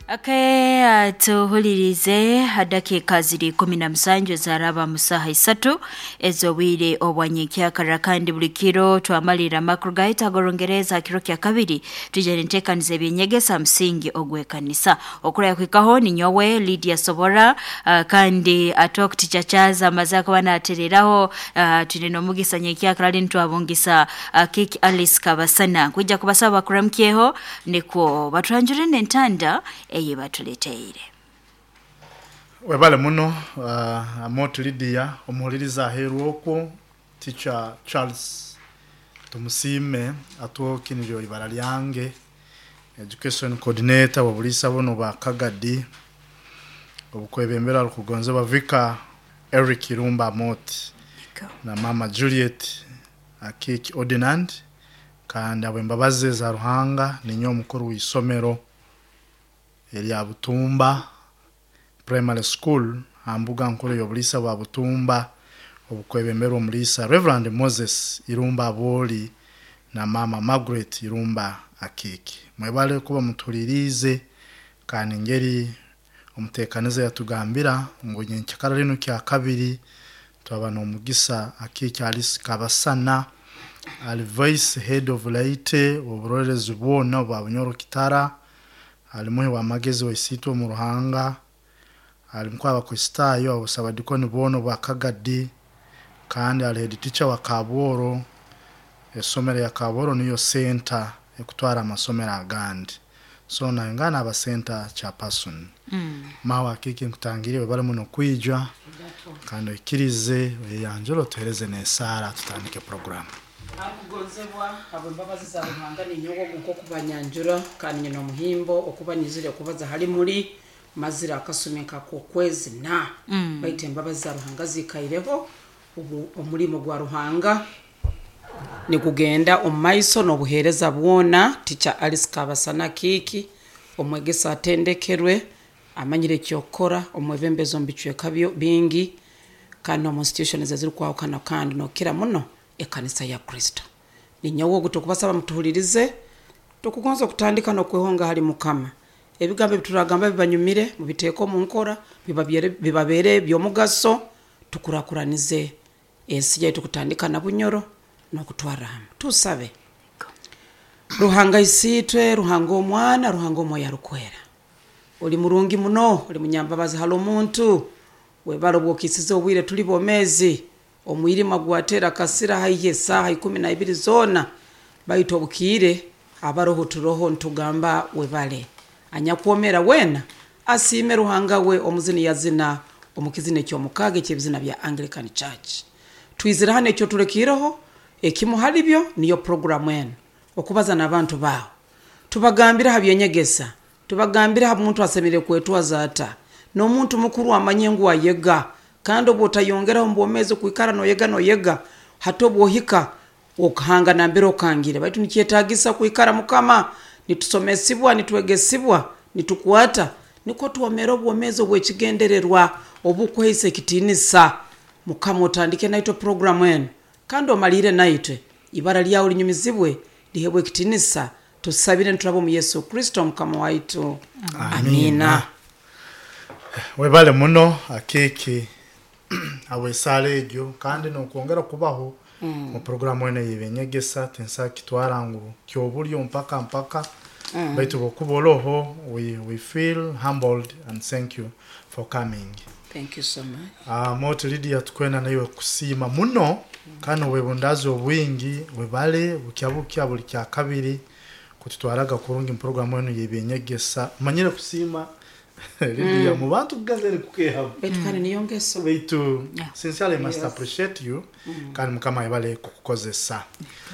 Okay, tuhulirize dakika ziri 17 ezaraba mu saaha 3 ez'obwire obwanyenkyakara. Kandi buli kiro twamalira amakuru gaitu ag'Orungereza, kiro kya kabiri tujya nenteekaniza ebyenyegesa musingi ogw'ekanisa. Okuraya kuhikaho ninyowe Lydia Sobora, kandi atokuticacaza amaze akuba natereraho. Twine n'omugisa nyenkyakara ali nitwabungisa Kiki Alice Kabasana kwija kubasaba bakuramukyeho nikwo batwanjure n'entanda eye batuleteire. Webale muno, Amot Lydia. Omuhuliriza aheeru okwo, Teacher Charles Tumusiime Atwoki niryo ibara lyange, education coordinator w'obuliisa buno bwa Kagadi, obukwebembera rukugonzebwa Vicar Eric Irumba Amot na Mama Juliet Akiki Ordinand. Kandi habw'embabazi za Ruhanga ninyowe omukuru w'isomero erya Butumba Primary School ha mbuga nkuru y'obuliisa bwa Butumba, obukwebemberwa omuliisa Reverend Moses Irumba Abooli na Mama Margaret Irumba Akiki. Mwebale kuba mutuhuliriize. Kandi ngeri omuteekaniza yatugambira ngu nyenkyakara linu kya kabiri twaba n'omugisa Akiki Alice Kabasana, ali vice head of laity oburolerezi bwona obwa Bunyoro Kitara, ali muhi w'amagezi wa isiitwe omu Ruhanga, ali mukuru w'Abakristaayo abasabadikoni boona obwa Kagadi, kandi ali head teacher wa Kabworo. Esomero ya Kabworo niyo center ekutwara amasomero agandi, so nayongera aba center chairperson. Mawe Akiki, nkutangiriire, webale muno kwija, kandi oikirize oyeyanjure, otuhereze n'esaara, tutandike program. Akugonzebwa, habw'embabazi za Ruhanga ninyowe ogu nk'okubanyanjura, kandi nyina omuhimbo okuba nyizire kubaza hali muli. Mazire akasumi nkak'okwezi na baitu embabazi za Ruhanga ziikaireho. Obu omulimo gwa Ruhanga nigugenda omu maiso n'obuheereza bwona. Teacher Alice Kabasana Kiiki, omwegesa atendekerwe, amanyire ekyokukora, omwebembezi omu bicweka bingi kandi n'omu institutions ezirukwahukana, kandi nokira muno ekanisa ya Kristo. Ninyowe ogu. Tukubasaba mutuhulirize. Tukugonza okutandika n'okwehonga hali Mukama. Ebigambo ebituragamba bibanyumire, mubiteeke omu nkora, bibabeere by'omugaso, tukurakuranize ensi yaitu kutandika na Bunyoro n'okutwarra hamu. Tusabe. Ruhanga Isiitwe, Ruhanga Omwana, Ruhanga Omwoyo Arukwera, oli murungi muno, oli munyambabazi hali omuntu. Webale obwokisize obwire tuli bomeezi. Omwirima gwatera kasira haihi esaaha 12 zoona, baitu obukiire abaroho turoho, ntugamba webale. Anyakwomera weena asiime Ruhanga we. Omuzini yazina omu kizina eky'omukaaga eky'ebizina bya Anglican Church. Twizire hano, ekyo tulekiireho ekimu hali byo niyo puroguramu enu, okubaza n'abantu baawe, tubagambire ha byenyegesa, tubagambire ha muntu asemeriire kwetwaza ata, n'omuntu mukuru amanye ngu ayega, kandi obu otayongeraho omu bwomeezi okwikara noyega noyega, hati obwohika okahanga nambere okangire. Baitu nikyetagisa kwikara, Mukama, nitusomesibwa, nitwegesibwa, nitukwata nikwo twomera obwomeezi obw'ekigendererwa obukuhaisa ekitiinisa. Mukama, otandike naitwe puroguramu enu kandi omalire naitwe. Ibara lyawe linyumizibwe, lihebwe ekitiinisa. Tusabire nituraba omu Yesu Kristo Mukama waitu, amina. Webale muno Akiki habw'esaara egyo, kandi n'okwongera kubaho mu poroguramu enu ey'eby'enyegesa. Tinsobola kitwara ngu ky'obulyo mpaka mpaka, baitu bwokuba oroho we feel humbled and thank you for coming. Thank you so much. Moti Lydia, tukwenda naiwe kusiima muno kandi obwebundaazi obwingi. Webale bukya bukya buli kya kabiri kututwaraga kurungi mu poroguramu enu y'ebyenyegesa. Manyire kusiima Lydia mu bantu kugazere kukehamu. Baitu kandi niyo ngeso. Baitu sincerely must appreciate you, kandi Mukama ayebale kukukozesa.